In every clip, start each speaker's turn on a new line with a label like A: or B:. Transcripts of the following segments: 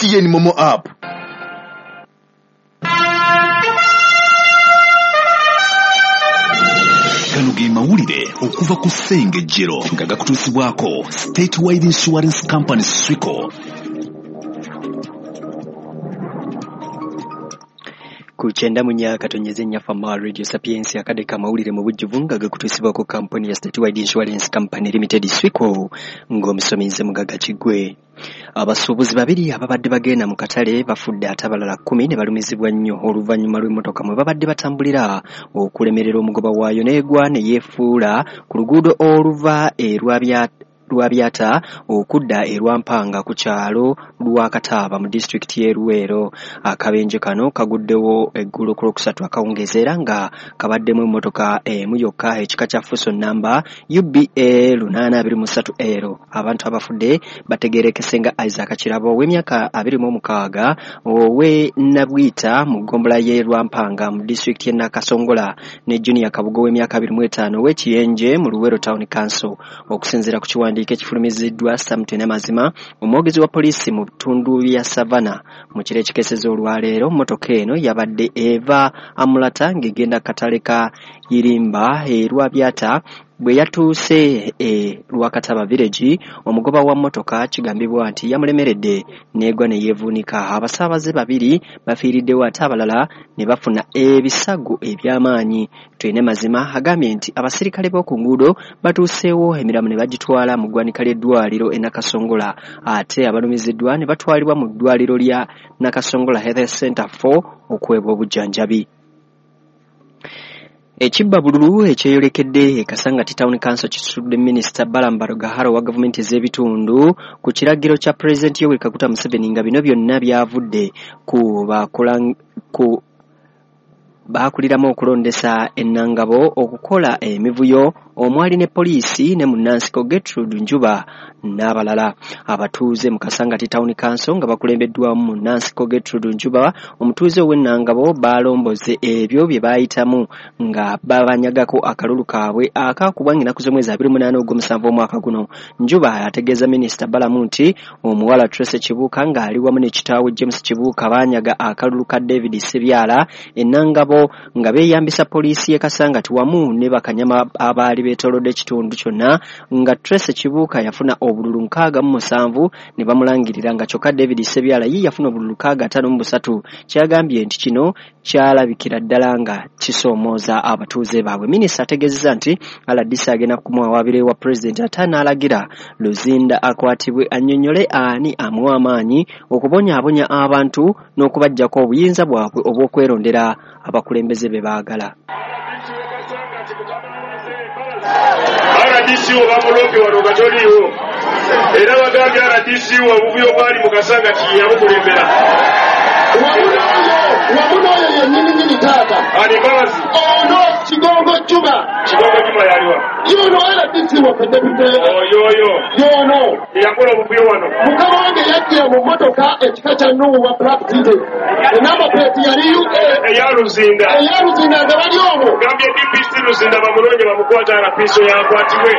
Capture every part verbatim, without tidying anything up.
A: M T N MoMo app. Gano ge mawulire okuva ku Ssengejjero nga gakutuusibwako Statewide Insurance Company, Swico.
B: Ku kyenda mu nnya katonyeze nnya Fama Radio Sapientia, akadde k'amawulire mu bujjuvu nga gakutuusibwako kampuni ya Statewide Insurance Company Limited, Swico, ng'omusomi nze Mugaga Kiggwe. Abasuubuzi babiri ababadde bagenda mu katale bafudde ate abalala kkumi ne balumizibwa nnyo oluvannyuma lw'emmotoka mwe babadde batambulira okulemerera omugoba waayo n'egwa ne yeefuula ku luguudo oluva e Lwabya Lwabyata okudda e Lwampanga ku kyalo Lwakataaba mu disitulikiti y'e Luweero. Akabenje kano kaguddewo eggulo ku Lwokusatu akawungeezi era nga kabaddemu emmotoka emu yokka ekika kya Fuso namba U B A lunaana abiri mu ssatu L. Abantu abafudde bategeerekese nga Isaac Kirabo ow'emyaka abiri mu mukaaga ow'e Nabwita mu ggombolola y'e Lwampanga mu disitulikiti y'e Nakasongola ne Junior Kabugo ow'emyaka abiri mu etaano ow'e Kiyenje mu Luweero Town Council. Okusinziira ku kiwandiiko ekifulumiziddwa Samton Amazima, omwogezi wa poliisi mu bitundu bya Savana, mu kiro ekikeesezza olwaleero, mmotoka eno yabadde eva Amulata ng'egenda katale ka Irimba e Lwabyata. Bwe yatuuse e Lwakataba Village, omugoba wa mmotoka kigambibwa nti yamulemeredde n'egwa ne yeevuunika. Abasaabaze babiri bafiiriddewo ate abalala ne bafuna ebisago eby'amaanyi. Twine Mazima agambye nti abasirikale b'oku nguudo batuuseewo, emiramu ne bagitwala mu ggwanika ly'eddwaliro e Nakasongola, ate abalumiziddwa ne batwalibwa mu ddwaliro lya Nakasongola Health Center four okuweebwa obujjanjabi. Ekibbabululu ekyeyolekedde e Kasangati Town Council kisitudde Minisita Balaam Barugahara owa gavumenti ez'ebitundu ku kiragiro kya Pulezidenti Yoweri Kaguta Museveni, nga bino byonna byavudde ku bakola ku baakuliramu okulondesa ennangabo okukola emivuyo omwali ne poliisi ne munnansiko Gertrude Njuba n'abalala. Abatuuze mu Kasangati Town Council nga bakulembeddwamu munnansiko Gertrude Njuba, omutuuze ow'ennangabo, balomboze ebyo bye baayitamu nga babanyagako akalulu kaabwe akaakubwa ng'ennaku z'omwezi abiri munaana ogw'omusanvu omwaka guno. Njuba ategeeza Minisita Balamu nti omuwala Tracy Kibuuka ng'ali wamu ne kitaawe James Kibuuka baanyaga akalulu ka David Sebyala ennangabo nga beeyambisa poliisi y'e Kasangati wamu ne bakanyama abaali beetoolodde ekitundu kyonna, nga Tracy Kibuuka yafuna obululu nkaaga mu musanvu ne bamulangirira, nga kyokka David Sebyala ye yafuna obululu nkaaga ataano mu busatu. Kyagambye nti kino kyalabikira ddala nga kisoomooza abatuuze baabwe. Minisita ategeezezza nti R D C agenda kumuwawaabira ewa Pulezidenti ate n'alagira Luzinda akwatibwe annyonnyole ani amuwa amaanyi okubonyaabonya abantu n'okubaggyako obuyinza bwabwe obw'okwerondera abakulembeze be baagala.
C: R D C wo bamuloope wano nga toliiwo, era bagambye R D C wo obuvuyo bwali mu Kasangati yabukulembera.
D: Wamu n'oyo, wamu n'oyo yennyini taata.
C: Ani, Mbabazi?
D: Ono Kigongo Juma.
C: Kigongo Juma yaliwa?
D: Yono R D C waffe, deputy.
C: Oyo oyo?
D: Yono.
C: Yakola obuvuyo wano.
D: Mukama wange yajjira mu mmotoka ekika kya Noah Black City, enamba plate yali U A.
C: Eya Luzinda.
D: Eya Luzinda, nga bali omwo.
C: Gambye D P C Luzinda bamunoonye bamukwata, R P C yakwatibwe.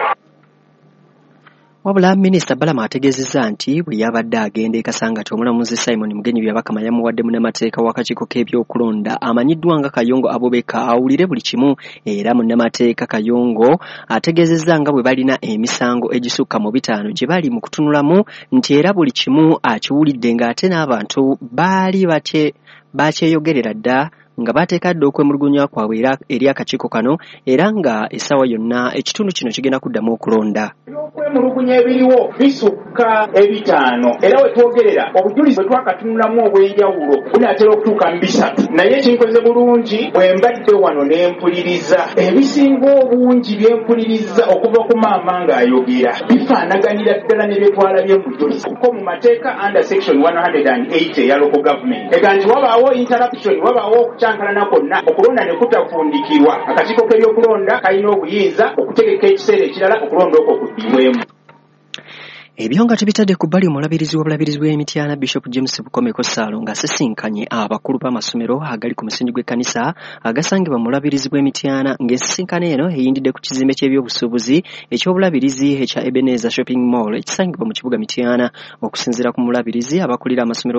B: Wabula Minisita Balamu ategeezezza nti bwe yabadde agenda e Kasangati, omulamuzi Simon Mugenyi Byabakama yamuwadde munnamateeka w'akakiiko k'ebyokulonda amanyiddwa nga Kayongo Abubeka awulire buli kimu. Era munnamateeka Kayongo ategeezezza nga bwe balina emisango egisukka mu bitaano gye bali mu kutunulamu, nti era buli kimu akiwulidde, ng'ate n'abantu baali batye bakyeyogerera dda nga bateeka dda okwemulugunya kwabwe era eri akakiiko kano, era nga essaawa yonna ekitundu kino kigenda kuddamu okulonda.
E: Ebyokwemulugunya ebiriwo bisukka ebitaano, era we twogerera obujulizi bwe twakatunulamu obw'enjawulo bunaatera okutuuka mu bisatu. Naye ekinkoze bulungi, bwe mbadde wano ne mpuliriza, ebisinga obungi bye mpuliriza okuva ku maama ng'ayogera bifaanaganira ddala ne bye twalabye mu bujulizi, kuko mu mateeka under section one hundred eighty eya local government ega nti wabaawo interruption, wabaawo okukyankalana kwonna, okulonda ne kutafundikirwa, akakiiko k'ebyokulonda kalina obuyinza okutegeka ekiseera ekirala okulonda okwo kuddibwemu.
B: Ebyo nga tubitadde ku bbali, omulabirizi w'obulabirizi bw'Emityana Bishop James Bukomeko Ssaalo ng'asisinkanye abakulu b'amasomero agali ku musingi gw'ekkanisa agasangibwa mu bulabirizi bw'Emityana, ng'ensisinkano eno eyindidde ku kizimbe ky'ebyobusuubuzi eky'obulabirizi ekya Ebenezer Shopping Mall ekisangibwa mu kibuga Mityana. Okusinziira ku mulabirizi, abakulira amasomero